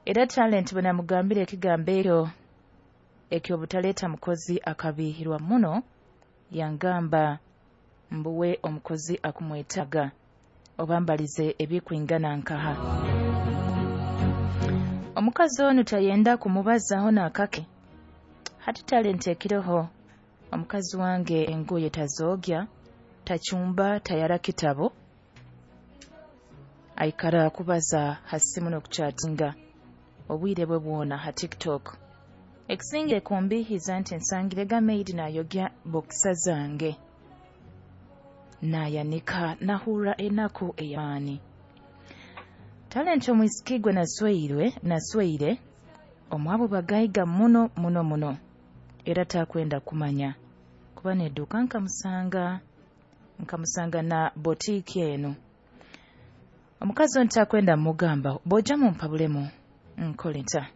Era Talent bwe namugambire ekigambo ekyo eky'obutaleeta mukozi akabiihirwa muno, yangamba mbu we omukozi akumwetaaga oba mbalize ebikwingana nkaha. Omukazi onu tayenda kumubazaho n'akake. Hati Talent ekiroho omukazi wange engoye tazoogya, tacumba, tayara kitabu, aikara kubaza ha simu n'okuchatinga obwire bwe bwona ha TikTok. Ekisingire kumbiihiza nti nsangirega maid naayogya bokisa zange naayanika, nahurra enaku ey'amaani. Talent omwisiki gwe nasweire omwabo bagaiga muno muno muno, era takwenda kumanya kuba n'eduuka nkamusanga na botiiki enu. Omukazi onu takwenda mmugambaho, boija mumpabulemu nkole nta?